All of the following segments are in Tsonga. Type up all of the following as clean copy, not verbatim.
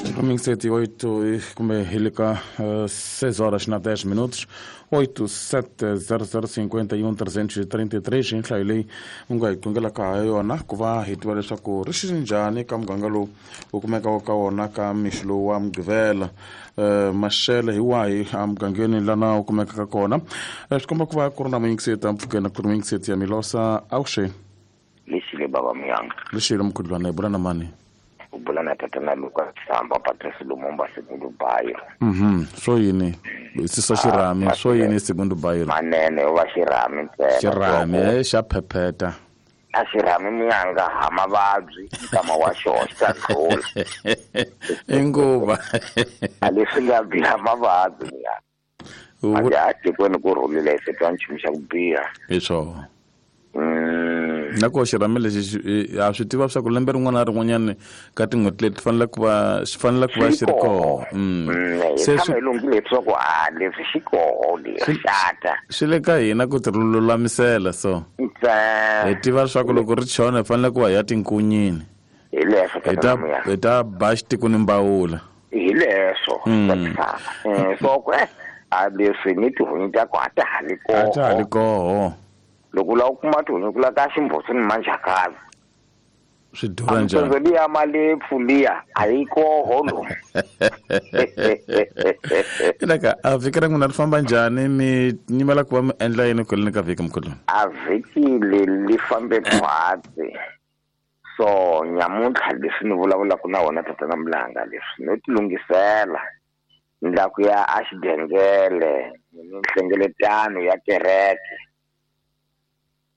Domingo 7 e 8, kumbe hi le ka 6 horas na 10 minutos, 870051 333 hi nhlayo leyi u nga hi qungelaka ha yona ku va hi tiva leswaku ri xi njhani ka muganga lowu wu kumekaka ka wona ka mixo lowu wa Mugqivela. Maxele hi wahi emugangeni lana wu kumekaka kona? Swi komba ku va ku ri na muyingiseti mpfhukeni ku ri muyingiseti ya Milosa. Awuxeni. Lexile baba Muyanga. Lexile mkhudlwana, hi bula na mani? U bula na tatana Luka Samba Patrice Lumumba Segundo Bayo. Swo yini? Sisa xirhami, swo yini Segundo Bayo? Manene wa xirhami ntsena. Xirhami xa phepheta. A xirhami Muyanga ha mavabyi nkama wa xona xi ta ndlula. I nguva. A leswi nga biha mavabyi Muyanga. Manje a tikweni ku rhulile hi twa nchumu xa ku biha. Hi swona. Na ko xirhami lexi ha swi tiva swa ku lembe rin'wana na rin'wanyana ka tin'hweti leti fanele ku va xi fanele ku va xi ri koho. Se swi lunghile leswaku a leswi xi koho leswi xata. Swi le ka hina ku ti lulamisela so. Hi tiva leswaku loko ri chona hi fanele ku va hi ya tinkunyini. Hi leswo hi ta ba xitiko ni mbawula. Hi leswo. So ku a leswi ni tihunyi ta ku a ta ha li koho. A ta ha li koho. Loko u lava ku kuma tihunyi ku la ka ximbutsu ni manjhakazi. Swi durha njhani? Amtsondzo liya malepfu liya a yi koho lomu. Ilaka a vhiki ra n'wina ri famba njhani? Mi nyimela ku va mi endla yini kwaleni ka vhiki mkhulu? A vhiki leri li fambe khwatsi. So nyamuntlha leswi ni vulavulaka na wona tatana Mlanga leswi no tilunghisela ni la ku ya a xidengele ni nhlengeletano ya kereke.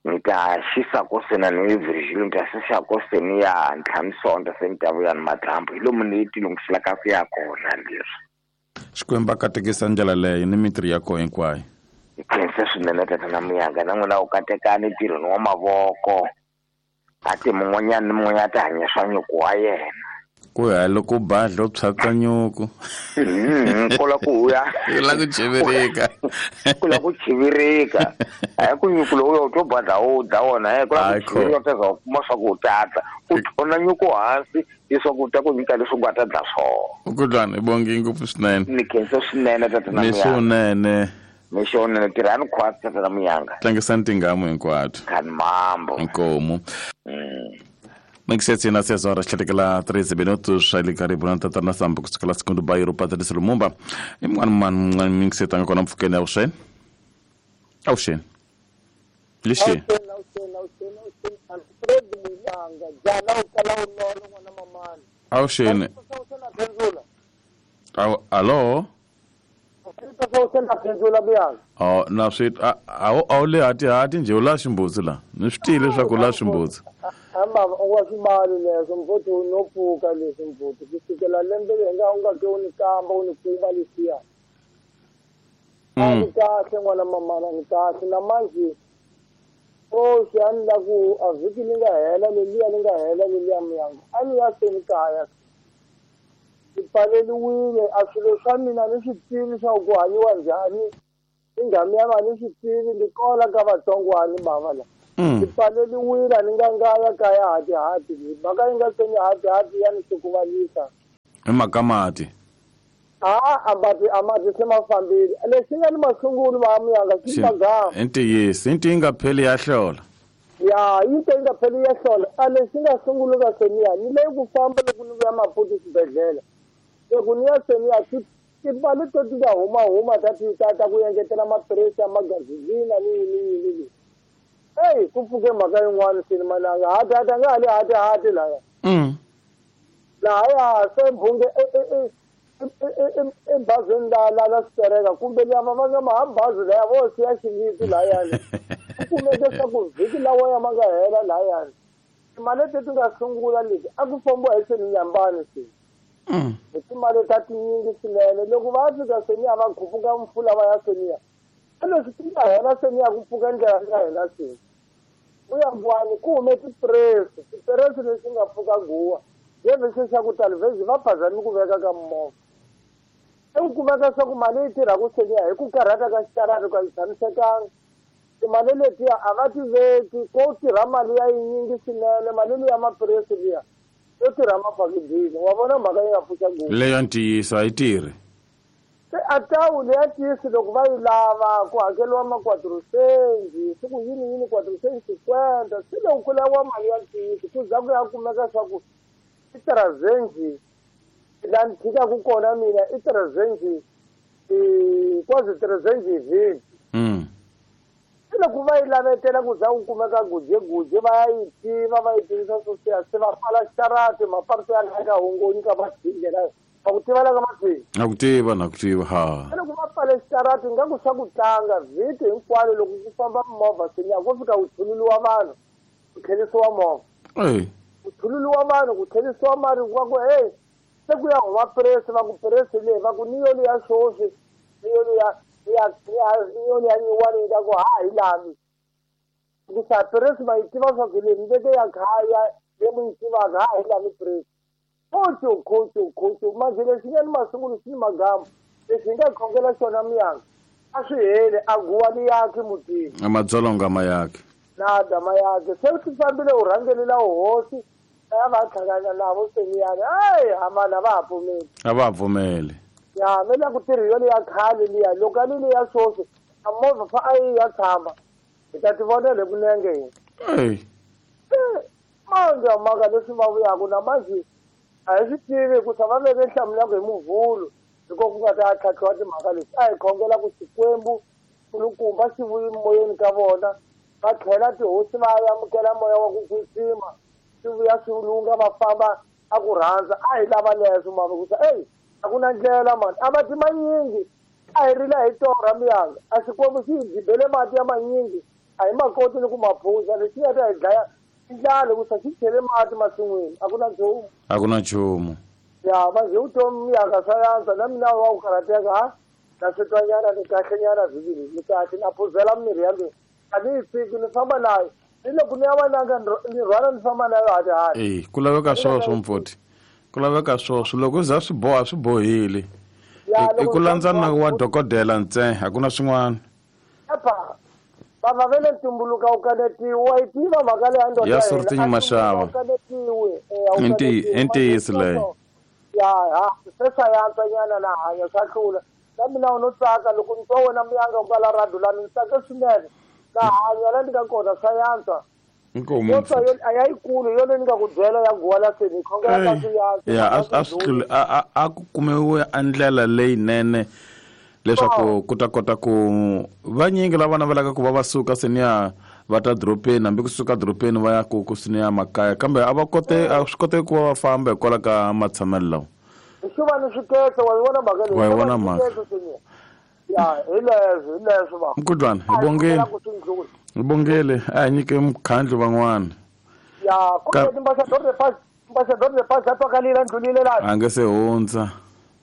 Ni ta xisa ko sena ni Virgil ni ta xisa ko seni ya ntlhanu sonto se ni ta vuya ni madyambu hi lomu ni tilunghiselaka ku ya kona leswi. Xikwembu a katekisa ndlela leyo ni mintirho ya koho hinkwayo. Hi khense swinene tatana Muyanga na n'wina u katekani ntirhweni wa mavoko. A ti mun'wanyana ni mun'wanyana a ti hanya swa nyuku wa yena. Ku ya loko badla u phyaka nyuku. Ku la ku ya. Ku la ku chivirika. Ku la ku chivirika. A ku nyuku lowu u to badla u dya wona, ku la ku chivirika u ta za u kuma swa ku u tata. U thona nyuku hansi leswaku u ta ku nyika leswi u nga ta dla swona. Mkhudlwana hi bongi ngopfu swinene. Ni khensa swinene tatana Muyanga. Mixo Mixo wunene tirhani khwatsi tatana Muyanga. Tlangisani tingamu hinkwato. Khani mambo. Inkomu. Mixetsi na 6 horas tlhetekela 13 minutos ali karibu na tatana Sambo kusukela Segundo Bairro Patrício Lumumba. I mun'wana mun'wana mixetsi a nga kona mpfhukeni avuxeni. Avuxeni. Lexi. Avuxeni. Alo. Oh, na swi a wu le hatihati njhe u la ximbutsi la ni swi tivi leswaku u la ximbutsi. Baba u nga swi mali leswo mfuthu no pfuka leswi mfuthu ku sukela lembe leri nga u nga ke u ni kamba u ni kuma leswiya. A ni kahle n'wana mamana ni kahle na manje oxi a ni la ku a vhiki li nga hela leliya li nga hela leliya Muyanga a ni ya se ni kaya. Ni pfaleliwile a swilo swa mina ni swi tivi swa ku hanyiwa njhani inghamu ya mina ni swi tivi ni kola ka vatsongwani bava la. Ni pfaleliwile a ni nga ngaya kaya hatihati mhaka yi nga se ni hatihati ya ni hlukuvalisa. Hi mhaka mati. A mati a mati se ma fambile lexi nga ni masungulu va Muyanga xi magama. I ntiyiso i ntiyi nga pheli ya hlola. Ya yi nte yi nga pheli ya hlola a lexi nga sunguluka seniya ni leyi ku famba loko ni vuya Maputo xibedhlele loko ni ya seniya timali to ti nga huma huma ta ti ta ta ku engetela maphilisi ya magazini ni yini yini leyi. Eyi ku pfuke mhaka yin'wana seni mananga hati hati a nga ha le hati hati laya. Lahaya se mbhunge ebazini la la la switereka kumbe lava va nga ma bazi laya vo siya xingisi layani. Ku kumeke swa ku vhiki lawa ya ma nga hela layani. Timali leti ti nga sungula leti a ku fambiwa hi seni nyambani se. Hi timali ta tinyingi swinene loko va fika seniya va khupuka mpfula va ya seniya. Leswi ti nga hela seniya ku pfuka ndlela ya hina se. Ku ya ngwani ku hume tipresi, tipresi lexi nga pfuka guwa. Yevese xa ku tala vhezi va phazami ku veka ka movha. I ku kumeka swa ku mali yi tirha ku seniya hi ku karhata ka xitarata ka yi tshamisekanga. Timali letiya a va ti veki ko tirha mali ya yinyingi swinene mali liya maphilisi liya. Yo tirha mafakidini wa vona mhaka yi nga pfuxa ngopfu. Leyo ntiyiso a yi tirhi. Se a tawu leya tiyisi loko va yi lava ku hakeriwa ma-quatrocenji swi ku yini yini 450, se loko ku laviwa mali ya ntiyiso ku za ku ya kumeka swa ku i tirazenji laha ni tshikaku kona mina i tirazenji quasi tirazenji hi vhiki. Se loko va yi lavetela ku za ku kumeka gujeguje va ya yi tiva va yi tivisa sweswiya se va pfala xitarati maparti ya laha ka hongoni ka mathingela va ku tiva la ka mathini. Na ku tiva, na ku tiva ha. Se loko va pfale xitarati nga ku swa ku tlanga vhiki hinkwalo loko ku famba mimovha seniya ko fika ku thululiwa vanhu ku tlherisiwa movha. Ku thululiwa vanhu ku tlherisiwa mali va ku hey se ku ya huma presi va ku presi leyi va ku ni yo liya swoswi ni yo liya ni yo liya nyiwani yi ta ku ha hi lavi. Hikusa presi ma yi tiva swa ku leyi mi veke ya khaya leyi mu yi tivaka ha hi lavi presi. Khocho khocho khocho manje lexi nga ni masungulo xi ni magamu lexi hi nga khongela xona miyanga a swi heli a guwa ni yaki mutini. A madzolonga ma yaki. Nada ma yaki se swi fambile u rhangelela hosi ya va tlhangana navo seniyani ayi hamana va ha pfumeli. A va ha pfumeli. Ya me la ku tirhi yona ya khale liya loko a ni liya swoswi a movha fa a yi ya tshama hi ta ti vonela hi kunenge hina. Manje mhaka leswi va vuyaku na manje a hi swi tivi hikusa va veke nhlamulo ya ku hi muvhulu hiko ku nga ta tlhatlhiwa timhaka leti. A hi khongela ku Xikwembu kulukumba xi vuyi moyeni ka vona va tlhela tihosi va amukela moya wa ku kwetsima swi vuya swi lunga va famba a ku rhandza. A hi lava leswo mama hikusa eyi a ku na ndlela mani a mati manyingi a hi rila hi torha miyanga a Xikwembu xi hi dibele mati ya manyingi a hi ma koti ni ku ma phuza lexi nga ta hi dlaya i ndlala hikusa xi chele mati masin'wini a ku na nchumu. A ku na nchumu. Ya manje vutomi miyanga swa yantswa na mina wa ku karhateka ha na swi twanyana ni kahlenyana vhiki leyi ni kahle na phuzela mirhi ya mina a ni yi tshiki ni famba nayo ni loko ni ya vananga ni rhwala ni famba nayo hati hati. Ku laveka swoswo mfoti, ku laveka swoswo loko za swi boha swi bohile. I ku landza nawu wa dokodela ntsena a ku na swin'wana. Epa bava ve le ntumbuluka wu kanetiwi wa yi tiva mhaka leyi ya ndoda ya Sortinyi Mashava. Wu kanetiwi I ntiyiso leyo. Ya ha se swa yantswa nyana na hanya swa hlula na mina u no tsaka loko ni twa wena miyanga u kala radu la ni tsake swinene na hanya la ni nga kona swa yantswa. Inkomu. Yo twa yo a ya yikulu yo leyi ni nga ku byela ya guwa la seni khongela ka swi yantswa. Ya a swi tluli a ku kumiwe a ndlela leyinene leswaku ku ta kota ku vanyingi lava navelaka ku va va suka seniya va ta doropeni hambi kusuka doropeni va ya ku ku seniya makaya kambe a va kote a swi koteki ku va va famba hikwalaho ka matshamelo lawa. Swi va ni swiketse wa yi vona mhaka leyi. Wa yi vona mhaka. Ya hi leswo hi leswo va. Mkhudlwana hi bongile. Hi bongile a hi nyike mukhandlu van'wana. Ya kumbe timbassador de pass a twakalile ndlulile laha. A nge se hundza.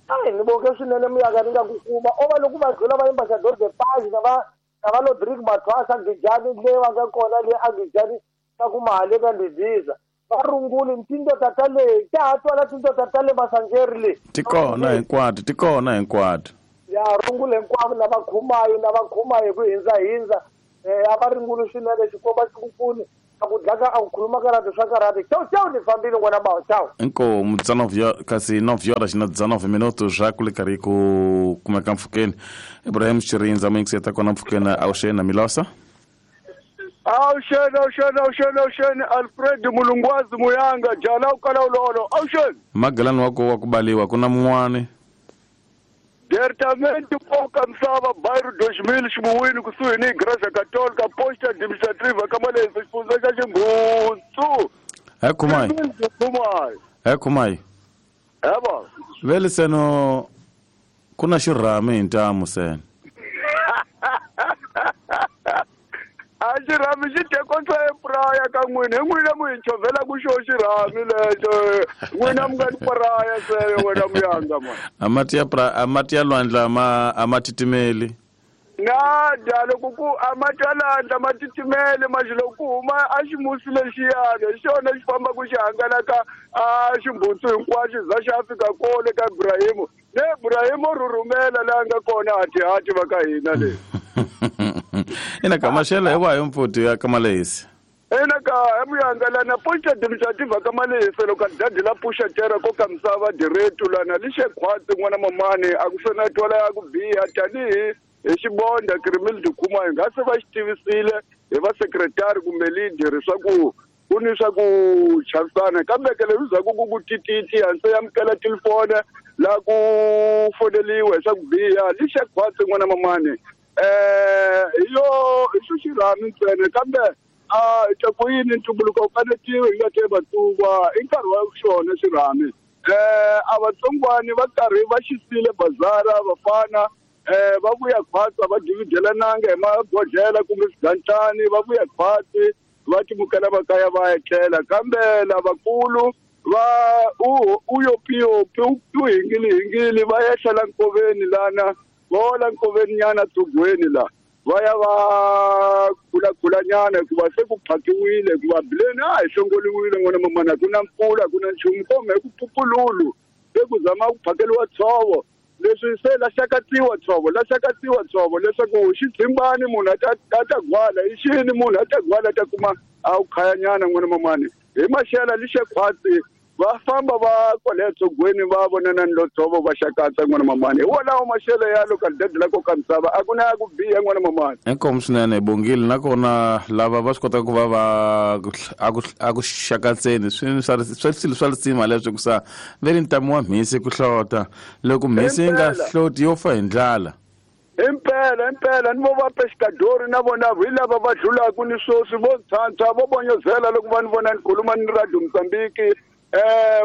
Ai ni bonge swinene miyaka ni nga ku kuma o va loko va dlula va ambassador de pass na va na va Lodrick Mathwasa Gijani le va nga kona le a Gijani ta ku mali ka ndiziza va runguli tindoda ta le ta ha twala tindoda ta le Masanjeri le ti kona hinkwato ti kona hinkwato. Ya rungule hinkwavo na va khumayo na va khumayo hi ku hindza hindza a va ringuli swinene Xikwembu xi ku pfuni a ku dlaka a ku khuluma karate swa karate chau chau ni fambile n'wana bawo chau. Inkomu kasi 9 horas na 19 minutos já ku le karhi ku kumeka mpfhukeni. Ibrahim Chirindza muyingiseta kona mpfhukeni awuxeni na Milosa. Awuxeni awuxeni awuxeni awuxeni Alfred Mulungwazi Muyanga jala u kala ulolo awuxeni. Magelani wa ku wa ku baliwa ku na mun'wani. Diretamente Poca Msava, bairro 2000, Ximuwini, kusuhi ni Igreja Católica, posta administrativa ka Malezi, xifundza xa Xinghutsu. He Khumai. Khumai. He Khumai. Eba. Vele seno ku na xirhami hi ntamu seno. A xirhami xi tekotsa epraya ka n'wina, hi n'wina mu hi chovhela ku xo xirhami lexo. N'wina mi nga ni praya se wena muyanga ma. A mati ya pra, a mati ya lwandle a ma titimeli. Na da loko ku a mati ya lwandle ma titimeli manje loko ku huma a ximusi lexiyana hi xona xi fambaka xi hangalaka a ximbutsu hinkwaxo za xi ya fika kole ka Ibrahimu. Ne Ibrahimu rhurhumela laha nga kona hatihati va ka hina le. Ina ka maxelo hi wahi mfuti ya ka Malezi? Ena ka emuyanga lana poxa administrativa ka malehisa loko dadi la puxa tera ko ka misava diretu lana lixe khwatsi n'wana mamani a ku sena twala ya ku biha tanihi hi xibonda kirimili dikuma hi nga se va xi tivisile hi va sekretari kumbe leader swa ku ku ni swa ku chavisana kambe ke leswi zaku ku ku tititi hansi amukela telefone la ku foneliwe swa ku biha lixe khwatsi n'wana mamani hi yo hi xo xirhami ntsena kambe a ku yini ntumbuluko wu kanetiwe hi nga te vatsungwa i nkarhi wa xona xirhami a vatsongwani va karhi va xisile bazara vafana va vuya khwatsi va dividelananga hi magodlela kumbe swigantlani va vuya khwatsi va timukela va kaya va etlela kambe lavakulu va u yopiyopi u hingili va ehlela nkoveni lana va hola nkoveni nyana dzugweni la va ya va khulakhulanyana hikuva se ku phakiwile hikuva bileni a hi hlongoliwile n'wana mamana ku na mpfula ku na nchumu kumbe ku pupululu se ku zama ku phakeliwa tshovo leswi se lahlakatsiwa tshovo leswaku xidzimbani munhu a ta gwala i xini munhu a ta gwala a ta kuma a wu khayanyana n'wana mamani hi maxela lixe khwatsi va famba va kwale tsogweni va vonana ni lotsovo va xakatsa n'wana mamani hi wolawo maxelo ya localidade la koka misava a ku na ya ku biha n'wana mamani. Inkomu swinene bongile nakona lava va swi kotaka ku va va a ku xakatseni swi swilo swa lisima leswi ku sa ve ri ntamu wa mhisi ku hlota loko mhisi yi nga hloti yo fa hi ndlala. Impela ni vo va pescadori na vona hi lava va dlulaka ni swoswi vo ntshantsha vo bonyozela loko va ni vona ni khuluma ni Radio Mozambique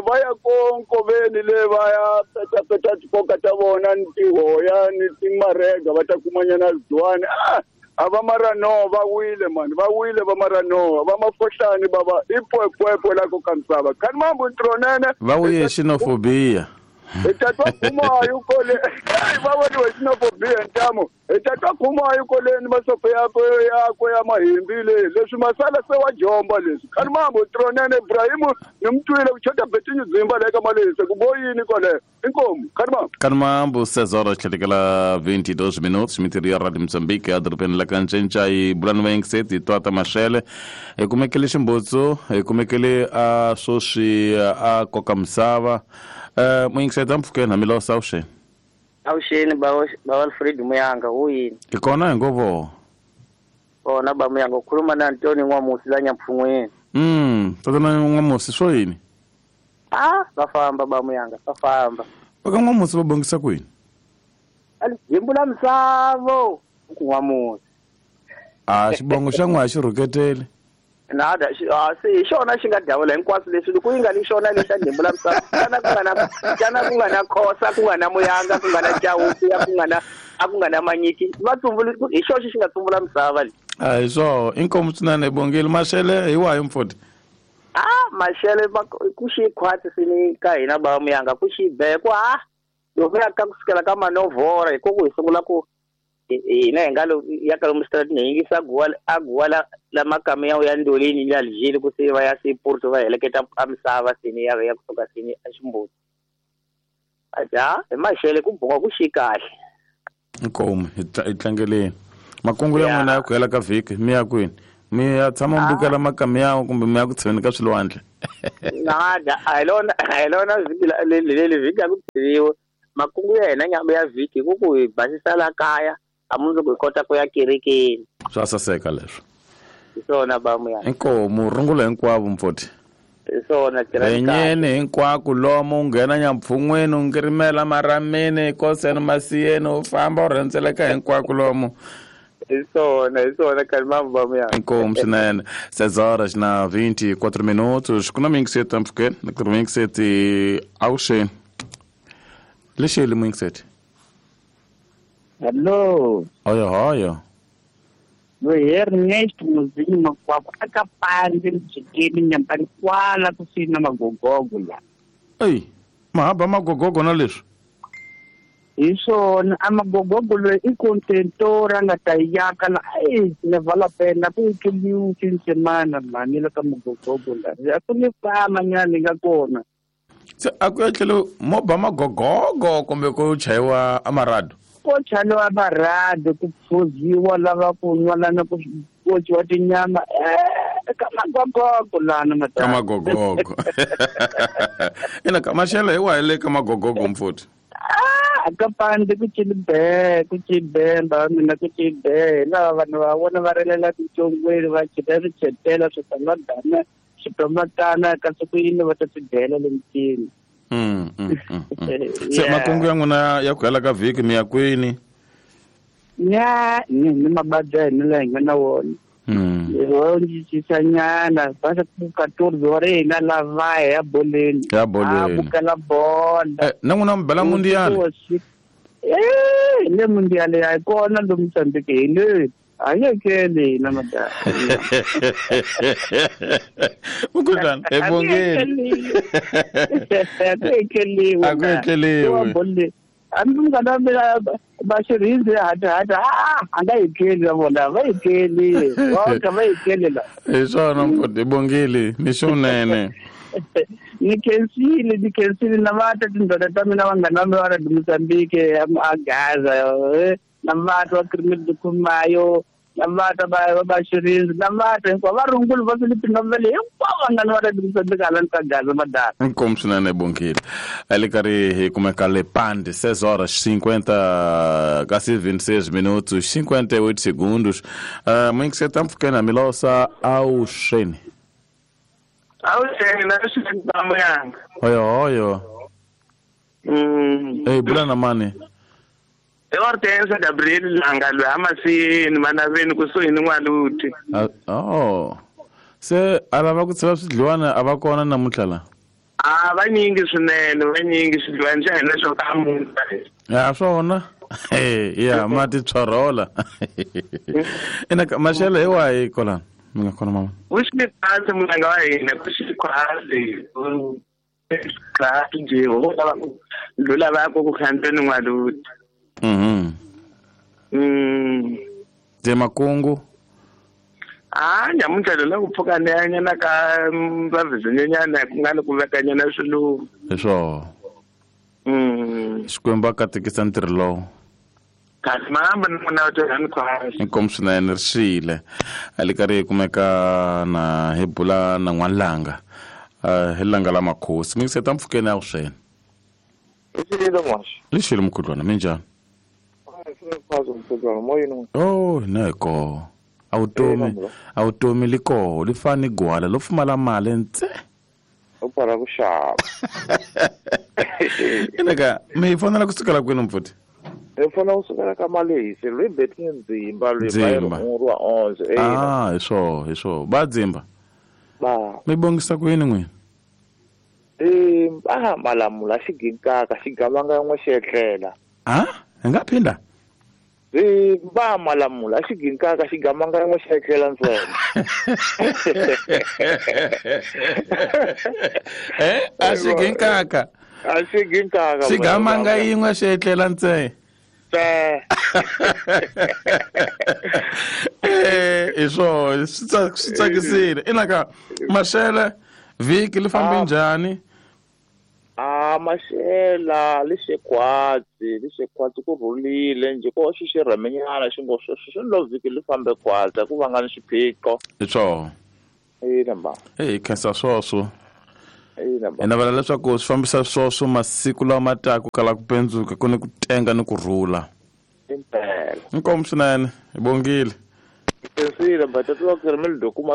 va ya ko nkoveni le va ya petapeta tikoka ta vona ni tihoya ni timarega va ta kumanyana ziwani a va maranoa va wile mani va wile va maranoa va mafohlani bava i pwepwepwe la ko ka misava khani mambo ntronene va wuye xenofobia hi ta twa khumayo kole va voniwe xenofobia ntamu hi ta twa khumayo koleni masopo yakwe ya mahimbi le leswi masala se wa jomba leswi khani mambo tronene Ibrahimu ni mutwile ku chota betinyu dzimba le ka malehisa ku boyini kwale inkomu khani mambo. Khani mambo 6 horas tlhetekela 22 minutos mitirio ya Radio Mozambique edorobeni la Kancinca hi bulani va yingiseti hi twata maxele hi kumekele ximbutsu hi kumekele a swoswi a koka misava muyingiseti ampfukeni hamilosa awuxeni. Awuxeni ba Alfred Muyanga u yini? Hi kona hi ngovo. Kona ba Muyanga u khuluma na Antoni N'wamusi la Nyampfun'weni. Tatana N'wamusi swo yini? Va famba ba Muyanga va famba. Va ka N'wamusi va bongisa kwini? Ali jimbu la misavo ku N'wamusi. Xibongo xa n'wa xi rhuketele. Nada se hi xona xi nga dawula hinkwaswo leswi loko yi nga ni xona lexa ndhembu la misava xana ku nga na khosa ku nga na muyanga ku nga na chawuku ku nga na a ku nga na manyiki va tsumbula hi xoxe xi nga tsumbula misava leyi. A hi swo inkomu swinene bongile maxele hi wahi mfoti? Maxele ku xi khwatsi sini ka hina ba muyanga ku xi be ku loko ya ka kusukela ka manovhora hi ku hi sungula ku hina hi nga lo ya ka lomu stratini hi yingisa a guwa la makamiya ya ndolini ni Algeria ku se va ya se Porto va heleketa a misava sini ya ya kusuka sini a ximbuti aja hi maxele ku bonga ku xi kahle. Inkomu hi tlangeleni makungu ya n'wina ya ku hela ka vhiki mi ya kwini? Mi ya tshama mi bukela makamiya kumbe mi ya ku tsheni ka swilwandle? Nada a hi lona vhiki leli vhiki a ku tiviwe makungu ya hina nyama ya vhiki ku ku hi basisa la kaya a mundzuku hi kota ku ya kerekeni. Swa saseka leswo. Hi swona ba Muyanga. Inkomu rungula hinkwavo mfoti. Hi swona tirhanyene hinkwako lomu u nghena Nyampfun'weni u ngirimela marameni koseni masiyeni u famba u rhendzeleka hinkwako lomu. Hi swona khani mambo ba Muyanga. Inkomu swinene 6 horas na 24 minutos ku na muyingiseti ampfukeni na ku ri muyingiseti awuxeni lexeli muyingiseti. Hello. Hoyo hoyo. No Ernest Muzinho Makwakwa aka pandzi mjikeni nyambani kwala kusina magogogo la. Ei, mahaba magogogo na leswi. Hi swona a magogogo loyi i contentora nga ta yaka la ei ne vala pena ku kiliu tinsemana mani la ka magogogo la. A ku ni fama nyana nga kona. Se a ku etlele mo ba magogogo kumbe ku chayiwa amarado. Ko chaliwa marado ku phuziwa lava ku nwa lana ku kociwa tinyama Ka magogogo lana Ka magogogo. Ina ka maxelo hi wahi le ka magogogo mfuthi? Ah, ka pande ku chilibe, ku chibemba mina ku chibe. Lava vanhu va vona va rilela titsongweni va chita swichetela switamadana switomatana kasi ku yini va ta swi dyela le mitini. Se makungu ya n'wina ya ku hela ka vhiki mi ya kwini? Nya ni mabadi ya hina laha hi nga na wona. Nyana basa ku 14 wa ri hina lava ya boleni. Ya boleni. A bukela bola. Na n'wina mi bela mundial? Le mundial ya kona lo Mozambique hi le. A yi ekeli hina madala. Mukhuhlwana, ebongeni. A ku ekeliwi. A ku etleliwi. Hambi munghana wa mina va xirindzi hati a nga ekeli na vona va ekeli voka va ekeli la. Hi swona mfuthi, hi bongile mixo wunene. Ni khensile na va ta tindlela ta mina vanghana va mina va ra Mozambique a Gaza na va twa Krimil Dukhumayo na va ta va xirindzi na va ta hinkwavo va rungula va Philippine va le hinkwavo vanghana va ra Mozambique hala ka Gaza madala. Inkomu swinene bongile. Ali karhi hi kumeka le Pande 6 horas 50 kasi 26 minutos 58 segundos. Muingiseta mpfukeni milosa awuxeni. Awuxeni na xeni ba muyanga. Oyo oyo. Hey bula na mani. Hortense Gabriel Langa lwe amasini manaveni kusuhi ni N'waluti. Oh. Se a lava ku tsheva swidliwana a va kona namuntlha la? A vanyingi swinene, vanyingi swidliwana xa hina swo ka munta. Ya swona. Ya mati tshorola. Ina maxelo hi wahi kola? Mi nga kona mama. Ku xi khasi mulanga wa hina, ku xi khasi. Khasi nje ho lava ku ndlula va ku khandzeni N'waluti. De makungu. Nyamuntlha la ku pfuka nyana ka vavizinyana ku nga ni ku vekanyana swiluva. Hi swona. Xikwembu a katekisa ntirho lowu. Kasi mahamba ni n'wina va tirha ni khwasi. Inkomu swinene ri xile. A li karhi hi kumeka na hi bula na N'walanga. Hi langa la makhosi. Mi ngiseta mpfukeni ya wuswena. Lixile moxa. Lixile mkhudlwana minjhani? Oh, neko. Awutomi liko li fani gwala lo pfumala mali ntse. U para ku xava. Inaka mi fonela kusukela kwini mfuthi? Hi fonela kusukela ka Malehisi, lwi betini Ndzimba lwi ba wa 11. Hi swo, hi swo. Ba Dzimba. Ba. Mi bongisa kwini n'wina? Malamula xiginkaka xigamanga yan'we xi etlela. Hi nga phinda? Ba malamula xiginkaka xigamanga yan'we xi etlela ntsena. A xiginkaka. A xiginkaka. Xigamanga yin'we xi etlela ntsena. Hi swona, swi tsakisile. Inaka maxele vhiki li fambe njhani? Maxela lixekhwatsi ku rhulile njhe ko xi xirhamenyana xi ngo sweswo swi lo vhiki li fambe khwatsi ku va nga ni xiphiqo. Hi swona. Ina ba. Hi khensa swoswo. Ina ba. Hi navela leswaku swi fambisa swoswo masiku lawa ma taka ku kala ku pendzuka ku ni ku tenga ni ku rhula. Impela. Inkomu swinene, hi bongile. Khensile ba tatiwa Krimil Dukuma.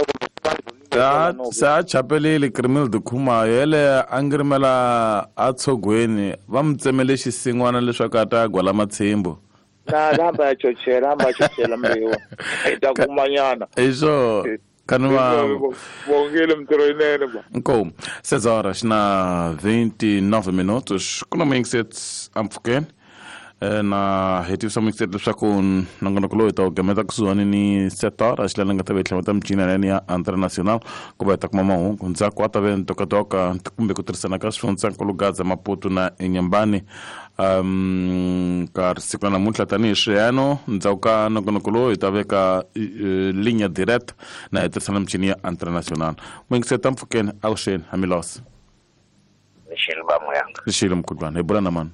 Se a chapelile Krimil Dukuma yele a ngirimela a tshogweni va mi tsemele xisin'wana leswaku a ta gwala matshimbu. Na hamba ya chochela mbewu. Hi ta kumanyana. Hi swo. Kanwa bongile mtirho yinene ba. Inkomu. 6 horas na 29 minutos. Kuna mingisets ampfukeni. Na hetisa mingisets leswaku nongonoko lowu hi ta wu gameta kusuhani ni 7 horas laha nga ta va hi tlhela michini ya ya international ku va hi ta kuma mahungu ndzhaku a ta ve ntokotoka kumbe ku tirhisana ka swifundzankulu Gaza Maputo na Inhambane ka siku la namuntlha tanihi swiyano ndzhaku ka nongonoko lowu hi ta veka linya direct na hi tirhisana michini ya international. Mingiseta mpfukeni avuxeni hamilosa. Lixile ba muyanga. Lixile mkhudlwana hi bula na mani?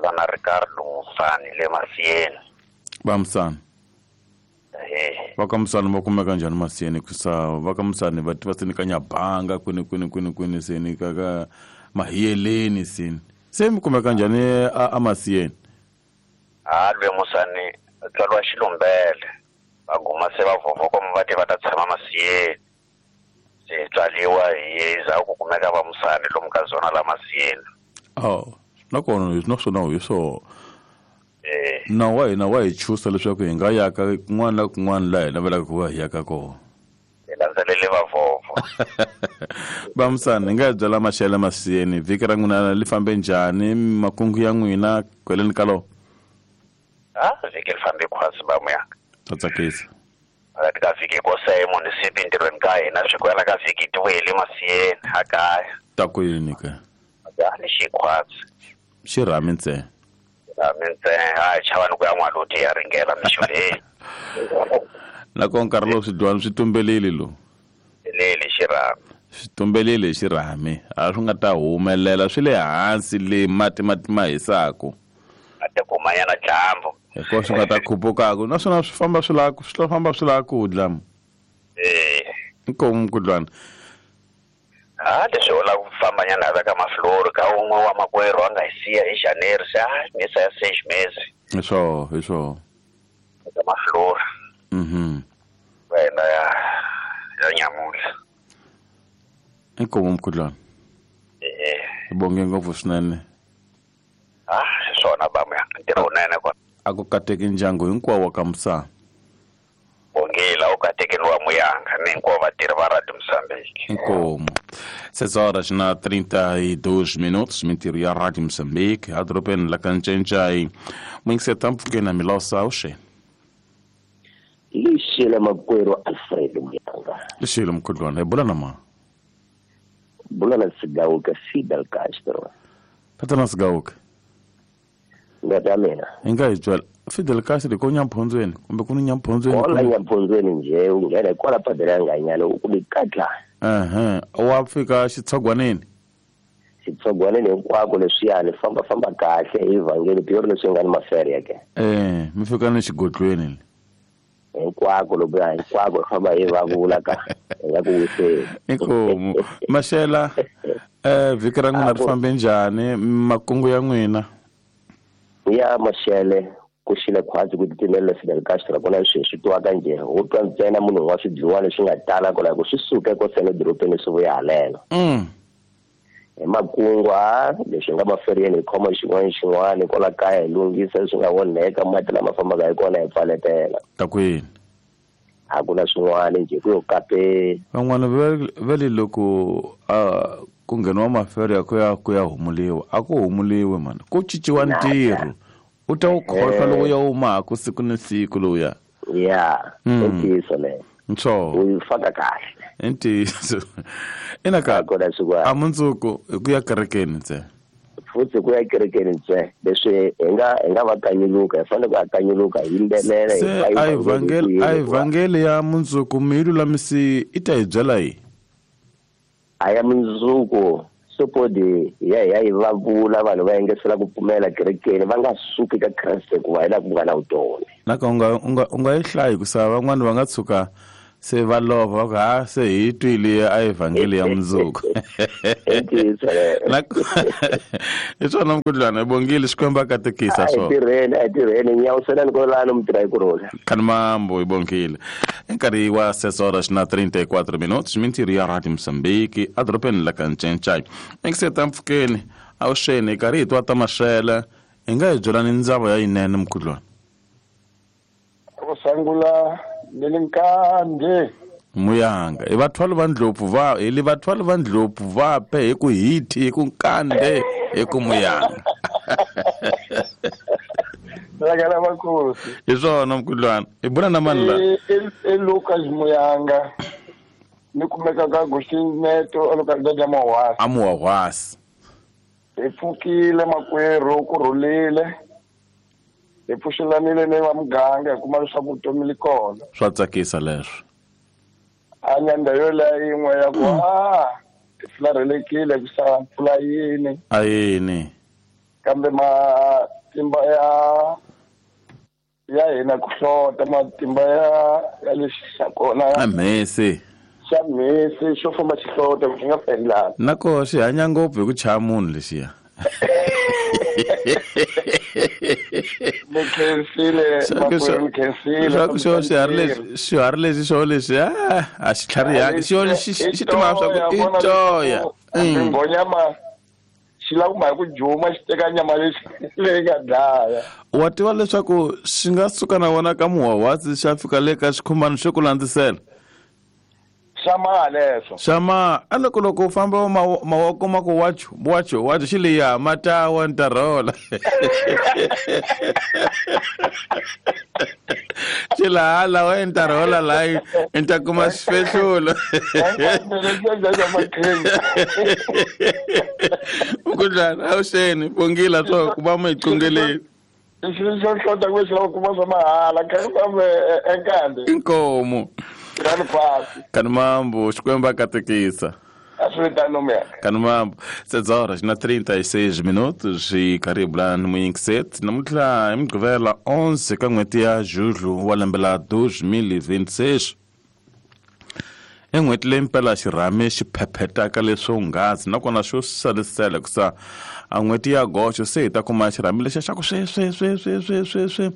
Na Ricardo Musani le Masiyeni. Ba Musani. Va ka Musani va kumeka njhani Masiyeni kusa va ka Musani va tiva seni ka Nyabanga kwini kwini kwini kwini seni ka ka Mahiyeleni seni. Se mi kumeka njhani a Masiyeni? Ha lwe Musani tswariwa Xilumbele. Va guma se va vhovhoko va ti va ta tshama Masiyeni. Se tswaliwa hi za ku kumeka va Musani lomu ka zona la Masiyeni. Oh, nakona naswona hi swo. Na wa hina wa hi chusa leswaku hi nga yaka kun'wana na kun'wana laha hi navelaka ku va hi yaka kona. Hi landzelele vavhovho. Va Musani hi nga hi byela maxele Masiyeni vhiki ra n'wina li fambe njhani makungu ya n'wina kweleni ka loko? Vhiki li fambe khwatsi ba muyanga. Ta tsakisa. Phakathi ka vhiki ko se munisipi ntirhweni ka hina swi kwela ka vhiki ti vuyele Masiyeni a kaya. Ta ku yini ke? Ni xikhwatsi. Xirhami ntsena. Mintsena a chava ni ku ya n'waluti ya ringela mixo leyi. Nakona nkarhi lowu swidyuhari swi tumbelile lowu. Leli xirhami. Swi tumbelile xirhami a swi nga ta humelela swi le hansi le mati mati ma hisaku. A ta kumanyana dyambu. Hikuva swi nga ta khupukaka naswona swi famba swi lava swi famba swi lava ku dla. Inkomu mukudlwana. Leswi u lava ku fambanyana a veka maflori ka un'we wa makwerhu a nga hi siya hi January se misa ya 6 mesi. Hi swo hi swo. Eka maflori. Wena ya nyamuntlha. Inkomu mukudlwana. Hi bonge ngopfu swinene. Swona ba muyanga ntirho wunene kona. A ku kateki ndyangu hinkwawo wa ka Musani. Bongela u katekeni wa muyanga ni hinkwavo vatirhi va Radio Moçambique. Inkomu. 6 horas na 32 minutos mintirho ya Radio Moçambique adorobeni la ka Ncencai. Mwingiseta mpfhukeni na Milosa awuxeni. Lixile makwerhu Alfred Muyanga. Lixile mkhudlwana hi bula na ma? Bula na Sigauke Fidel Castro. Tatana Sigauke. Ngati ya mina. Hi nga hi byela Fidel Castro ko Nyamphondzweni kumbe ku ni Nyamphondzweni? Kwala Nyamphondzweni nje u nghena kwala padela ya nganyana u kumi katla. Wa fika xitshogwaneni. Xitshogwaneni hinkwako leswiyani famba famba kahle hi vhangeli pure leswi nga ni mafere ya ke. Mi fika ni xigodlweni. Hinkwako loko ya hinkwako famba hi va vula ka ya ku wiseni. Inkomu. Maxela vhiki ra n'wina ri fambe njhani makungu ya n'wina? Ya maxele ku xile khwatsi ku titimela Fidel Castro kona sweswi twa ka nje u twa ntsena munhu wa swidliwa leswi nga tala kwala ku swi suke ko sele dorobeni swi vuya haleno. Hi makungu leswi nga maferiyeni hi khoma xin'wana xin'wana kwala kaya hi lunghisa leswi nga onheka mati lama fambaka hi kona hi pfaletela. Ta kwini? A ku na swin'wana nje ku yo kapeni. Van'wana va le loko ku ngheniwa maferi ya ku ya humuliwa a ku humuliwe mani ku cinciwa ntirho. U ta wu khohlwa loko ya humaka siku ni siku lowuya. Ya, i ntiyiso leyo. Ntsho. U yi faka kahle. I ntiyiso. Ina ka a mundzuku hi ku ya kerekeni ntsena. Futhi ku ya kerekeni ntsena leswi hi nga va kanyuluka hi fanele ku ya kanyuluka hi yimbelela hi a evhangeli ya mundzuku mi yi lulamisi i ta hi byela yi. A ya mundzuku sopodi ya yi va vula vanhu va yengesela ku pfumela kerekeni va nga suki ka Kreste ku va hi laha ku nga na vutomi. Naka u nga yi hlayi ku sa van'wani va nga tshuka se va lova va ku se hi twile a evhangeli ya mundzuku. Hi swona mukudlwana hi bongile Xikwembu a katekisa swona. A tirheni nyawuselani kwalano mi tirha hi ku rhula. Khanimambo hi bongile. Nkarhi wa 6 horas na 34 minutos mintirho ya Radio Moçambique adorobeni la ka Ncencai. Engiseta mpfhukeni awuxeni hi karhi hi twa ta maxele hi nga hi byelani ndzava ya yinene mukudlwana. Ku sungula Nelinkande Muyanga i vathwali va ndlopfu va hi li vathwali va ndlopfu va pe hi ku hiti hi ku nkande hi ku Muyanga. Lagala vakosi. Hi swona mukudlwana hi bula na mani la? I Lucas Muyanga ni kumeka ka Agostinho a localidade ya Muhwasi. A Muhwasi. Hi pfukile makwerhu ku rhulile. Hi pfuxelanile ni va muganga hi kuma leswaku vutomi li kona. Swa tsakisa leswo. A nyanda yoleyo yin'we ya ku hi fularhelekile ku sa mpfula yini. A yini. Kambe matimba Ya hina ku hlota matimba ya lexi xa kona. A mhesi. Xa mhesi xo famba xi hlota ku nga fendlanga. Nako xi hanya ngopfu hi ku chaya munhu lexiya. Ni khensile makwerhu, ni khensile. Swa ku xo xiharhi lexi xo lexi a xi tlharihangi xo xi tima swa ku i toya. Nghonyama xi lava ku mhaka ku juma xi teka nyama leyi nga dlaya. Wa tiva leswaku xi nga suka na wona ka muhwahwatsi xa fika le ka xikhumbani xo ku landzisela. Xa ma leswo. Xa ma a loko loko u famba mawoko ma ku wacho wacho wacho xi leya matawa ntarhola. Xi laha lawa ntarhola layi ni ta kuma xifehlulo. Mukhuhlwana awuxeni bongila swo ku va mu hi qongeleni. Xilo xo hlota ku xi lava kuma swa mahala kha ku fambe enkande. Inkomo. Kani pasi. Kani mambo Xikwembu a katekisa. Kanumambo, 7 horas na 36 minutos e karibula ni muyingiseti namuntlha hi Mugqivela 11 ka n'hweti ya Julho wa lembe la 2026. I n'hweti leyi mpela xirhami xi phephetaka leswo nghasi nakona xo salisela hikusa a n'hweti ya goxo se hi ta kuma xirhami lexiya xa ku swe swe swe swe swe swe swe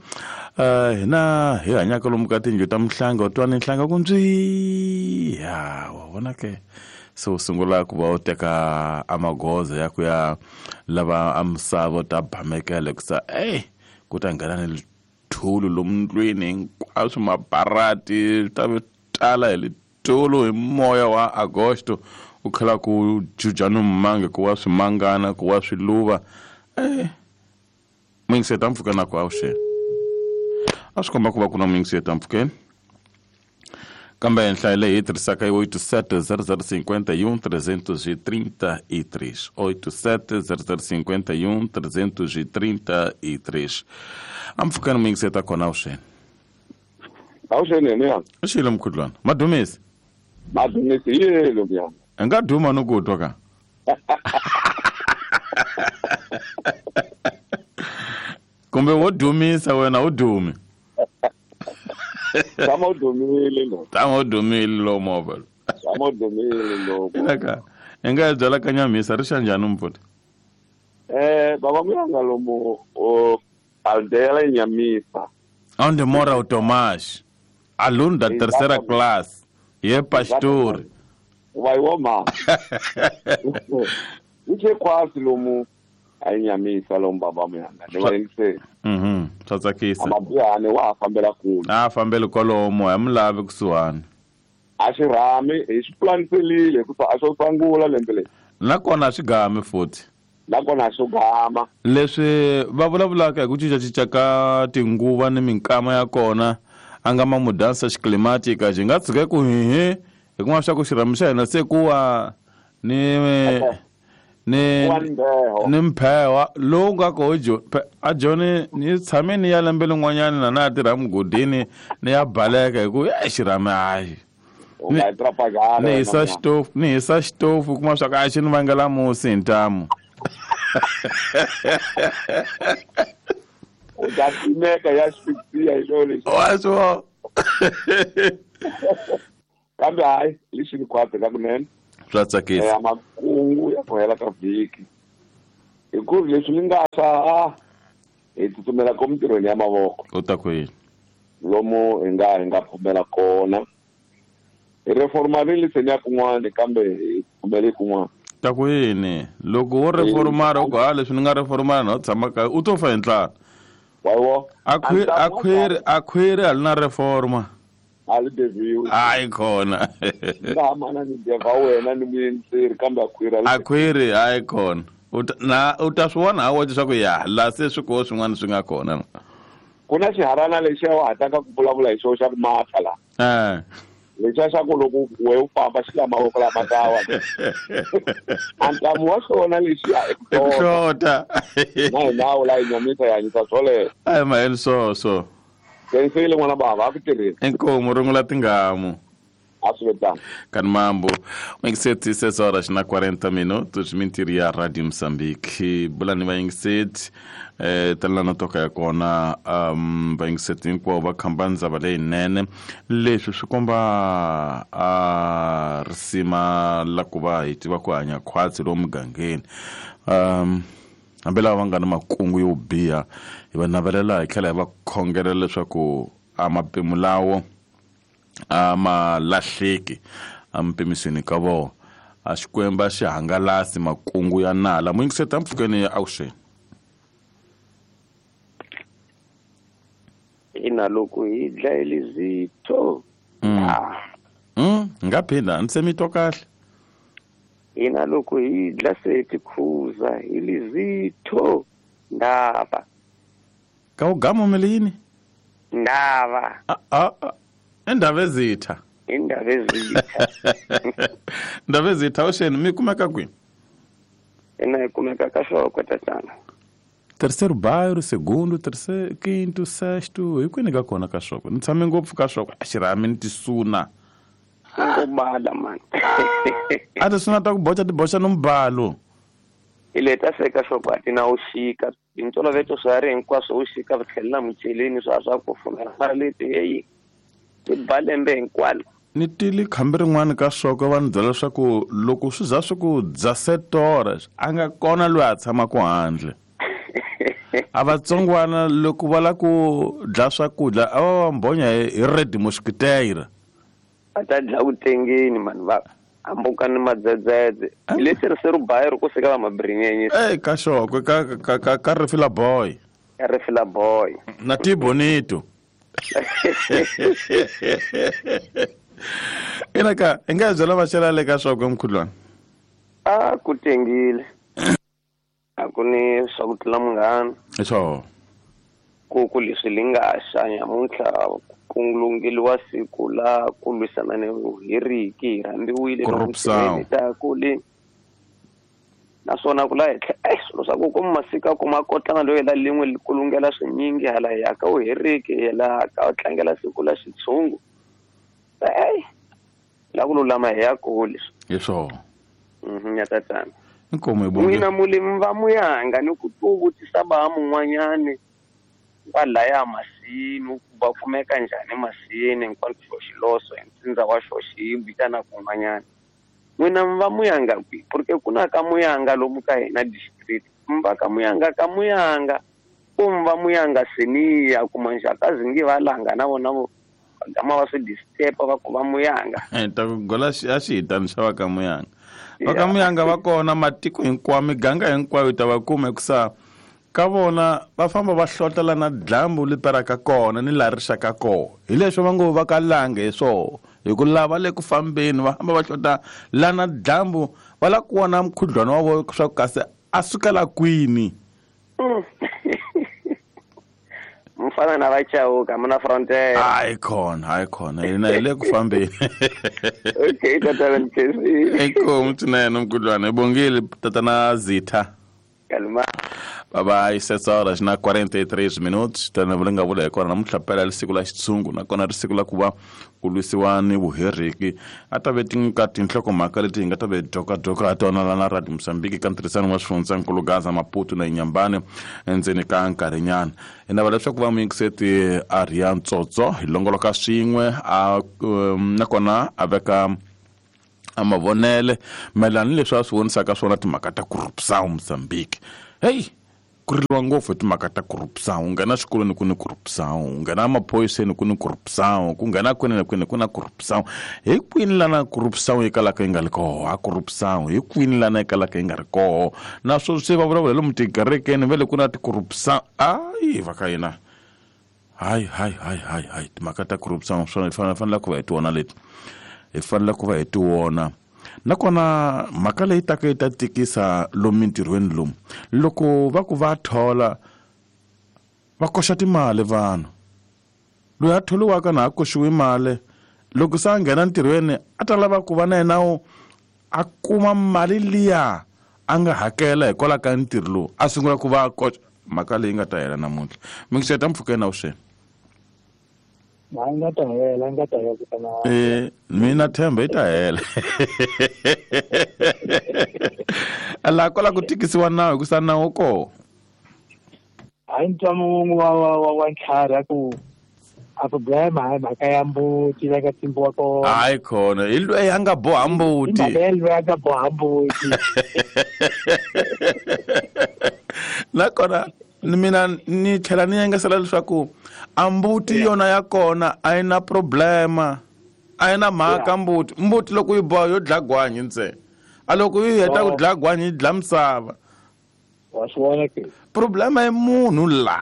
hina hi hanyaka lomu ka tindlu ta mihlanga u twa ni nhlanga ku ndzi ya wa vona ke. Se u sungula ku va u teka amagoza ya ku ya lava a misava u ta bamekela hikusa ku ta nghena ni lithulu lomu ndlwini hinkwaswo mabarati swi ta tala hi lithulu hi moya wa Agosto u khala ku juja ni mmange ku wa swimangana ku wa swiluva muyingiseti mpfhuka na ku awuxeni a swi komba ku va ku na muyingiseti mpfhukeni. Kambe nhlayo leyi hi tirhisaka i 87 0051 333 87 0051 333. Ampfhukeni muyingiseti kona awuxeni. Awuxeni yena. Xilo mkhudlwana. Madumisi. Madumisi yelo mnyama. Nga duma no ku twa ka. Kumbe wo dumisa wena u dumi. Tama udumile lo. Tama udumile lo movha. Tama udumile lo. Eka enga byala ka Nyamisa ri xa njhani mfuti? Baba muyanga lomu o aldeia la Nyamisa. Onde mora o Tomás, aluno da terceira classe, e é pastor. Vai oma. Ike quase lomu a Nyamisa lomu baba muyanga. Ne va yingisela. Swa tsakisa. Amabuyane wa fambela kule. A fambele kwalomo a mi lavi kusuhani. A xi rhami hi xi pulaniselile hikuva a xo sangula lembe leri. Nakona a swi gami futhi. Nakona a swo gama. Leswi va vulavulaka hi ku cincacinca ka tinguva ni minkama ya kona a nga ma mudansa xiclimatica xi nga tshuka ku hihi hi kuma swa ku xirhami xa hina se ku wa ni mphewa lowu nga ko a joni ni tshame ni ya lembe lin'wanyana na na tirha mugodini ni ya baleka hi ku xirhami hayi. Ni hisa xitofu ni hisa xitofu kuma swa ku a xi ni vangela musi hi ntamu. U ta timeka ya xifisiya hi xo lexi. Wa swo. Kambe hayi lexi ni khwatsi ka kunene. Swa tsakisa. Makungu ya ku hela ka vhiki. Hi ku ri leswi ni nga swa hi tsutsumela ko mintirhweni ya mavoko. U ta ku yini? Lomu hi nga pfumela kona. Hi reformarile se ni ya kun'wana kambe hi pfumele kun'wana. Ta ku yini? Loko wo reformara u ku ha leswi ni nga reformara na u tshama kaya u to fa hi ndlala. Wayiwo. A khwiri a li na reforma. A li deviwi. Hayi khona. Nga mana ni deva wena ni muyingiseri kambe a khwiri a khwiri hayi khona. Na u ta swi vona ha wexe swa ku ya laha se swi koho swin'wana swi nga kona. Ku na xiharana lexiya wa hataka ku vulavula hi xona xa ku matha laha. Lexiya xa ku loko we u famba xi la mavoko lama tawa. A ntamu wa xona lexiya i ku hlota. Na hi nawu la hi Nyamisa hi hanyisa swoleswo. A hi maheli swoswo. Khensile n'wana bava a ku tirheni. Inkomu rungula tingamu. A swi vetanga. Kanimambo vayingiseti, 6 horas na 40 minutos, mintirho ya Radio Mozambique. Bulani vayingiseti, talana toka ya kona, vayingiseti hinkwavo va khamba ndzava leyinene. Leswi swi komba a risima la ku va hi tiva ku hanya khwatsi lomu mugangeni. Hambi lava va nga na makungu yo biha, hi va navelela hi tlhela hi va khongelela leswaku a mapemu lawo a ma lahleki empimisweni ka vona. A Xikwembu a xi hangalasi makungu ya nala. Muyingiseti mpfhukeni ya avuxeni. Ina loko hi dlayile zitho. Nga phinda ni se mi twa kahle. Ina loko hi dla se tikhuza hi lizitho ndava. Ka ugama mele yini? Ndava. Indaba ezitha. Indaba ezitha. Indaba ezitha oxeni mi kumeka kwini? Ina hi kumeka ka Xokwe tatana. Terceiro bairro, segundo, terceiro, quinto, sexto, hi kwini ka kona ka Xokwe? Ni tshame ngopfu ka Xokwe, a xirhami ni tisuna. Ngobala man. A tisuna ta ku boxa ti boxa no mbalo. Ile ta seka Xokwe a ti na uxika. Hi ntolovelo swa ri hinkwaswo uxika va tlhelela mucheleni swa swa ku fumela mara leti heyi. Ti ba lembe hinkwalo. Ni tile khambi rin'wana ka Xokwe va ni byela leswaku loko swi za swi ku dya setora a nga kona loyi a tshamaka handle. A vatsongwana loko va la ku dya swakudya a va va mbhonya hi red mosquiteira. Va ta dya vutengeni mani va hambuka ni madzedzedze. Hi le terceiro bairro ku seka va mabrinyenye. Ka Xokwe ka Rifila Boy. Ka Rifila Boy. Na ti Bonito. Ina ka hi nga byela vaxela le ka Xokwe mkhulwana. A ku tengile. A ku ni swa ku tlula munghana. Hi. Ku leswi li nga xa nyamuntlha ku lungeliwa siku la ku lwisana ni vuheriki hi rhambiwile ta ku le naswona ku la henhla swilo swa ku kuma masiku a kuma kotlana loyi la lin'we ku lungela swinyingi hala hi ya ka vuheriki hi la ka tlangela siku la xitshungu. La ku lulama hi ya kule. Hi swona. Ya tatana. Inkomo hi bonge. N'wina mulimi va muyanga ni ku vutisa ba mun'wanyani kwalaya masini ku va kumeka njhani masini hinkwako xiloso hi ntsindza wa xoxi hi vitana kun'wanyana. N'wina mi va muyanga kwihi? Porque ku na ka muyanga lomu ka hina district. Mi va ka muyanga ka muyanga ku mi va muyanga seniya kuma nxakazi nge va langa na vona vo gama va swi disturb va ku va muyanga. Ta ku gola a xi hitani xa va ka muyanga. Va ka muyanga va kona matiko hinkwawo miganga hinkwayo ta va kuma hikusa ka vona va famba va hlotela na dlambu li peraka kona ni laha ri xaka kona. Hi leswo va ngo va ka lange hi swona hi ku lava le ku fambeni va famba va hlota la na dlambu va la ku vona mukhuhlwana wa vona swa ku kasi a sukela kwini. Mfana na vachauka muna frontier. Hayi khona hina hi le ku fambeni. Okay tatana Mkhesi. Inkomu swinene mkhulwana hi bongile tatana Zitha. Kalma. Bye bye, 7 horas na 43 minutos. Tana vula nga vula hi kona namuntlha phela ri siku la xitshungu nakona ri siku la ku va ku lwisiwa ni vuheriki. A ta ve ka tinhlokomhaka leti hi nga ta ve dokadoka ha tona la na Radio Mozambique ka ntirhisano wa swifundzankulu Gaza, Maputo na Inhambane endzeni ka nkarhinyana. Hi navela leswaku va muyingiseti a Riya Ntsotso hi longoloka swin'we a nakona a veka a mavonele mayelana ni leswi a swi vonisaka swona timhaka ta corruption Mozambique. Hey, ku riliwa ngopfu hi timhaka ta corruption. U nghena xikolweni ku ni corruption, u nghena maphoyiseni ku ni corruption, ku nghena kwini na kwini ku na corruption. Hi kwini lana corruption yi kalaka yi nga ri koho? A corruption hi kwini lana yi kalaka yi nga ri koho? Naswona se va vulavula hi lomu tikerekeni va le ku na ti-corruption. Ayi va ka hina. Hayi timhaka ta corruption swona hi fanele ku va hi ti vona leti. Hi fanele ku va hi ti vona. Nakona mhaka leyi taka yi ta tikisa lomu mintirhweni lomu loko va ku va thola va koxa timali vanhu. Loyi a tholiwaka na a koxiwi mali loko se a nghena ntirhweni a ta lava ku va na yena a kuma mali liya a nga hakela hikwalaho ka ntirho lowu a sungula ku va a koxa. Mhaka leyi nga ta hela namuntlha. Mingiseta mpfhukeni avuxeni. Hayi nga ta hela, nga ta hela kutana. Mina themba yi ta hela. La kwala ku tikisiwa nawu hikusa nawu koho. Hayi ntwa wun'we wa ntlhari a ku a ku blame hayi mhaka ya mbuti la ka tsimbiwa kona. Hayi khona hi loyi a nga boha mbuti. Hi mhaka ya loyi a nga boha mbuti. Nakona mina ni tlhela ni yengesela leswaku a mbuti yona ya kona a yi na problema, a yi na mhaka mbuti. Mbuti loko yi boha yo dlaya gwanyi ntsena, a loko yi heta ku dlaya gwanyi yi dlaya misava. Wa swi vona ke? Problema i munhu la.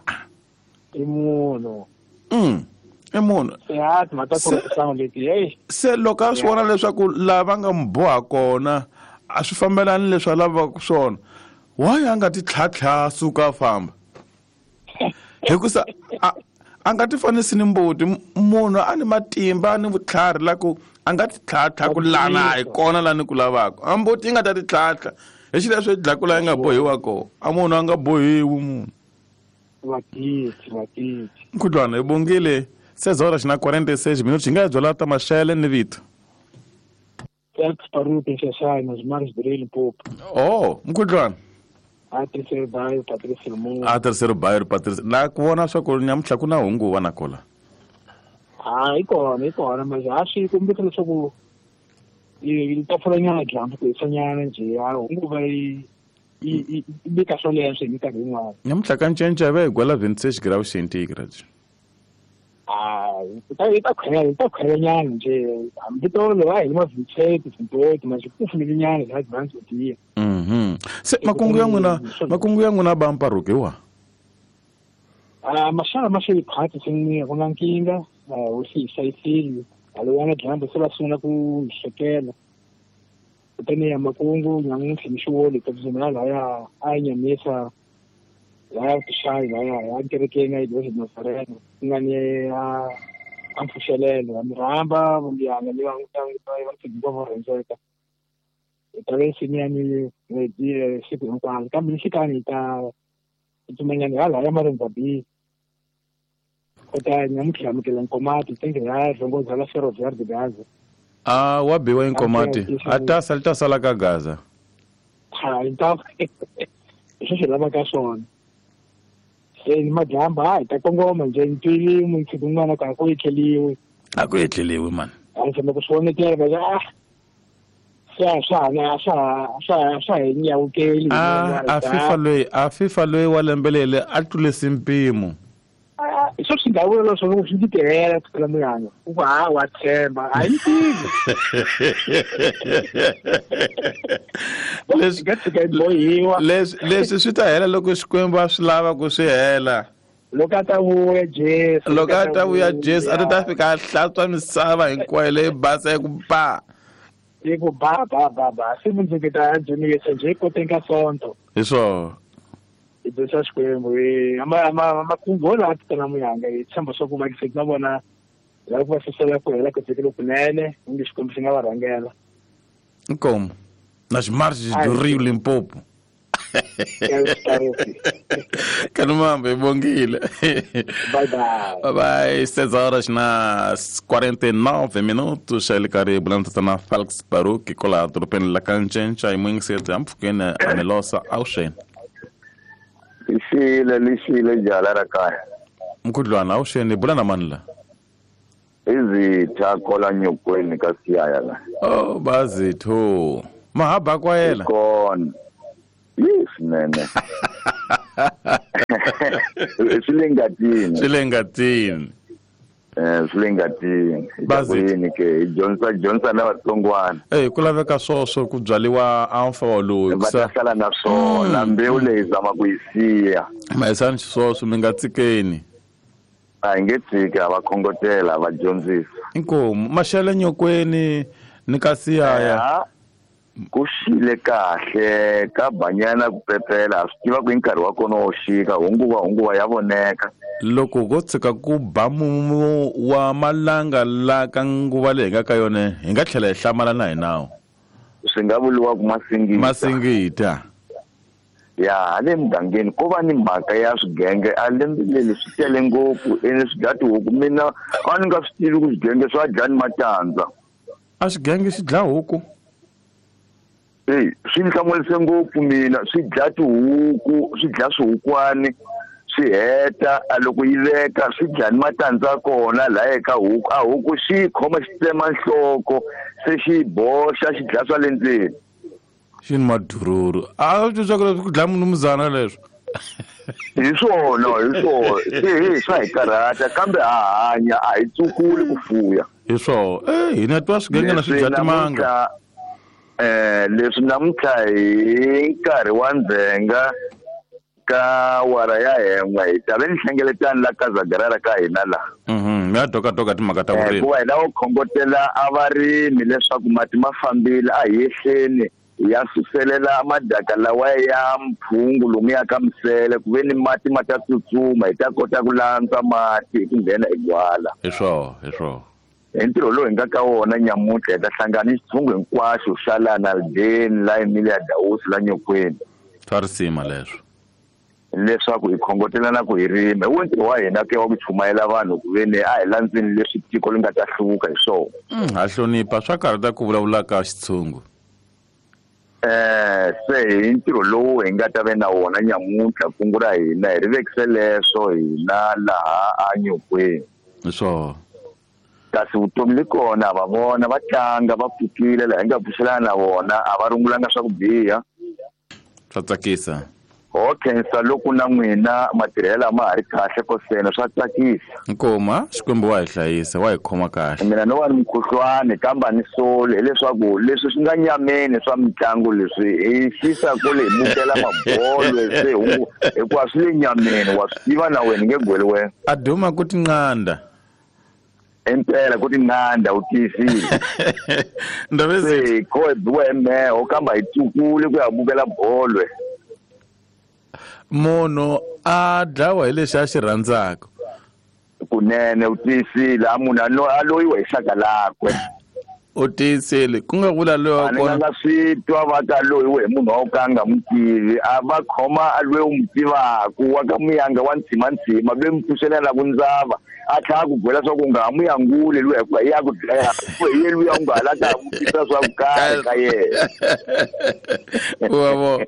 I munhu. I munhu. Ya, timhaka ta ku leti, hey. Se loko a swi vona leswaku lava nga n'wi boha kona a swi fambelani leswi a lavaka swona, why a nga ti tlhatlha suka a famba? Hikusa a nga ti fanisi ni mbuti. Munhu a ni matimba ni vutlhari la ku a nga ti tlhatlha ku lana a hi kona la ni ku lavaka. A mbuti yi nga ta ti tlhatlha hi xileswo yi dlaku la yi nga bohiwa kona. A munhu a nga bohiwi munhu. Vatiti. Mkhudlwana hi bongile 6 horas na 46 minutos. Hi nga byela ta maxele ni vito. Felix Paruti Nxaxani, nas Mares de Limpopo. Oh, mkhudlwana. A terceiro bairro, Patrício Lumumba. A terceiro bairro, Patrício. La ku vona swa ku nyamutlha ku na hunguva na kola. Ah, i kona, mas acho que kombisa leswaku yi ta pfulanyana dyambu ku hisanyana njhe, a hunguva yi vika swoleswo hi minkarhi yin'wana. Nyamutlha ka ncinca va hi gwela 26 graus centigrade. Ah, yi ta khwelanyana njhe, hambi tolo a hi ma 27, 28, mas ku pfulelinyana laha dyambu tiya. Se makungu ya n'wina ba mparuki wa? Ah, maxana ma xi khwatsi swinene, ku na nkingha, u xi hlayisile. Halowana dyambu se va sungula ku hlekela. Kutani ya makungu nyamuntlha ni xiwoli ta tsutsumela lahaya a nyamisa lahaya tixayi lahaya ya kerekeni ya Iglesia de Nazareno ku nga ni a mpfuxelelo. Mi rhamba vuyanga ni va hinkwavo vo rhendzeka. Hi ta ve nsimu ya mi siku hinkwaro, kambe ni xikani hi ta tsutsumanyana halaya Marenza B. Kutani nyamuntlha amukela Nkomati tenge ya Rongoza la Ferroviário de Gaza. Ah, wa biwa Nkomati. A ta sala ka Gaza. Ha, então isso se lava ka swona. Se ni madyambu hi ta kongoma nje ntwili mutsi kun'wana ka ku etleliwe. A ku etleliwe man. A ndzi ku swi vonekela va ah. Swa hi nyawukeli. Ah, a FIFA loyi wa lembelele a tlulise mpimo. Swo swi nga vula leswaku swi ndzi tirhela ku tlula muyanga. U ku ha wa tshemba, a yi tivi. Leswi nga tshika yi bohiwa. Leswi swi ta hela loko Xikwembu a swi lava ku swi hela. Loko a ta vuya Jesu. Loko a ta vuya Jesu, a ta fika a hlantswa misava hinkwayo leyi basa yi ku ba. Yi ku ba ba ba ba. Se mundzuku ta dzunisa njhe koteng ka Sonto. Hi swona. Hi dzunisa Xikwembu hi makungu lawa titana muyanga hi tshemba swa ku vakiseki na vona lava ku va susela ku hela ku vhiki lokunene onge Xikwembu xi nga va rhangela. Inkomu. Nas margens do Rio Limpopo. Kanumambe, bongile. Bye bye. Bye bye. 6 horas nas 49 minutos. Ele caribe na Felix Baruch kola dorobeni la Kancencha i mwingiseti ampfukeni a Melosa awuxeni. Lixile jala ra kaya. Mkhudlwana awuxeni bula na mani la? Izitha kola nyokweni ka siyaya la. Oh bazitho. Mahaba kwayela. Kona. Yes nene. Swi le ngatini. Swi le ngatini. Bazini ke Johnson na vatsongwana. Ku laveka swoswo ku byaliwa amfa wa loyi. Va ta sala na swona mbewu leyi zama ku yi siya. Mayisani xiswoswo mi nga tsikeni. A hi nge tshiki, a va khongotela, va dyondzisa. Inkomu maxele nyokweni ni ka siyaya. Ku xile kahle ka banyana ku pepela, a swi tiva ku hi nkarhi wa kona wo xika, hunguva ya voneka. Loko ko tshika ku ba mumu wa malanga la ka nguva leyi hi nga ka yona, hi nga tlhela hi hlamala na hi nawu. Swi nga vuriwa ku masingita. Masingita. Ya hale mugangeni ko va ni mhaka ya swigenge a lembe leri swi tele ngopfu ene swi dya tihuku. Mina a ni nga swi tivi ku swigenge swa dya ni matandza. A swigenge swi dlaya huku? Eyi, swi ni hlamurise ngopfu mina. Swi dlaya tihuku, swi dlaya swihukwani, swi heta a loko yi veka swi dlaya ni matandza ya kona laya eka huku. A huku xi yi khoma xi tsema nhloko se xi yi boxa xi dlaya swa le ndzeni. Xi ni madururu. A swi twa ku dlaya munumuzana leswo. Hi swona, hi swona. Se hi swa hi karhata kambe ha hanya, a hi tsukuli ku fuya. Hi swona. Hina twa swigenge na swi dya timanga. Leswi namuntlha hi nkarhi wa ndzhenga ka wara ya hen'we hi ta ve ni hlengeletani la Kazagarara ka hina la. Mi ya dokadoka timhaka ta vurimi. Hikuva hi lava ku khongotela a varimi leswaku mati ma fambile, a hi yehleni hi ya suselela madaka lawa ya mphungu lomuya ka misele, ku ve ni mati ma ta tsutsuma, hi ta kota ku landza mati hi ku nghena hi gwala. Hi swona, hi swona. Hi ntirho lowu hi nga ka wona nyamuntlha hi ta hlangana ni xitshungu hinkwaxo xa la Naldeni, la Emilia Dausi, la Nyokweni. Swa risima leswo. Leswaku hi khongotelana ku hi rima. Hi wo ntirho wa hina ke wa ku chumayela vanhu ku ve ni a hi landzeni leswi tiko ri nga ta hluvuka hi swona. Ha hlonipha, swa karhata ku vulavula ka xitshungu. Se hi ntirho lowu hi nga ta ve na wona nyamuntlha, kungu ra hina hi ri vekise leswo hina laha a Nyokweni. Hi swona. Kasi vutomi li kona, va vona va tlanga, va pfukile laha hi nga pfuxelana na vona, a va rungulanga swa ku biha. Swa tsakisa. Ho khensa loko na n'wina matirhelo ma ha ri kahle kosena, swa tsakisa. Nkoma, Xikwembu wa hi hlayisa, wa hi khoma kahle. Mina no va ni mukhuhlwani kambe a ni soli, hileswaku leswi swi nga nyameni swa mitlangu leswi hi xisa kule hi bukela mabolo se hikuva swi le nyameni, wa swi tiva na wena nge gweli wena. A duma ku tinqanda. Impela ku tinqanda u tiyisile. Ndabezitha. Se ko hi biwa hi mheho kambe hi tsukule ku ya bukela bolo. Munhu a dlawa hi lexi a xi rhandzaka. Kunene u tiyisile, a munhu a loyiwa hi xaka lakwe. U tiyisile, ku nga vula loyi wa A ni kona. nga swi twa va ka loyiwe hi munhu wa ka nga n'wi tivi, a va khoma a loyi u n'wi tivaku wa ka muyanga wa ntshimantsima, loyi mi pfuxelela ku ndzava, a tlhela a ku byela swa ku u nga ha n'wi yanguli luya hikuva hi ya ku dlaya, hi ye luya u nga ha la ta ha vutisa swa ku karhi ka yena. Wa vo.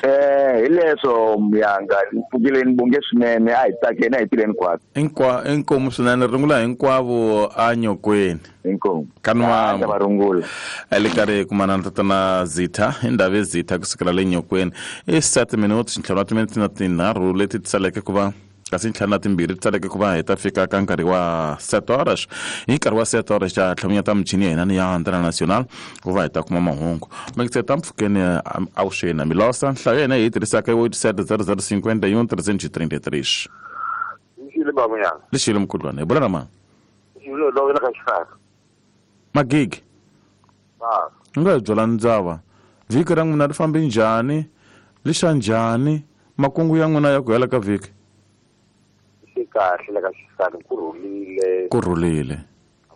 Hi leswo muyanga, ni pfukile ni bonge swinene, a hi tsakeni, a hi tirheni hinkwaswo. Inkomu swinene, rungula hinkwavo a Nyokweni. Inkomu. Ka Nwambo. Ah, va rungula. A le karhi kumana na tatana Zitha, i ndhawu ya Zitha kusukela le Nyokweni. I 7 minutes, ntlhanu wa timinete na tinharhu leti ti saleke ku va kasi ntlhanu na timbirhi ti saleke ku va hi ta fika ka nkarhi wa 7 horas. Hi nkarhi wa 7 horas ta tlhamunyata michini ya hina ni ya Antena Nacional ku va hi ta kuma mahungu. Mekiseta mpfhukeni avuxeni Milosa, nhlayo ya hina hi yi tirhisaka i 87 00 51 333. Lexile babunyana. Lexile mkhulwane, hi bula na mani? Lexile lo la ka xifaka. Magigi. Ah. U nga hi byela ndzava. Vhiki ra n'wina ri fambe njhani? Li xa njhani? Makungu ya n'wina ya ku hela ka vhiki? Swi kahle la ka xifaka, ku rhulile. Ku rhulile.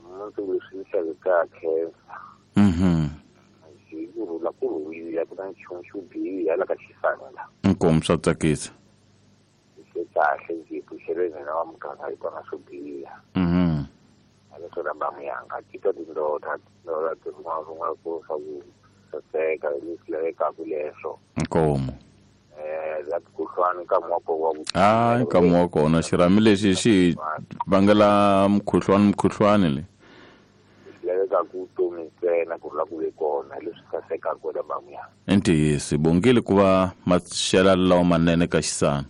Mundzuku leswi ni xaveke ka khensa. Hi ku rhula, ku rhulile, ku na nchumu xo biha la ka xifaka la. Inkomu, swa tsakisa. Swi kahle njhe, pfuxeleni hina wa muganga hi twana swo biha. A leswo na bamuyanga, ti twa tindlotha, tindlotha ti rin'wana ku swa ku saseka, leswi lavekaka leswo. Inkomu. La mukhuhlwani ka muako wa ku Hayi, ka muako wona xirhami lexi xi vangela mukhuhlwani, mukhuhlwani le. Leswi lavekaka vutomi ntsena ku rhula ku ve kona, leswi sasekaka wena bamuyanga. I ntiyiso, hi bongile ku va maxelo lawa manene ka xisana.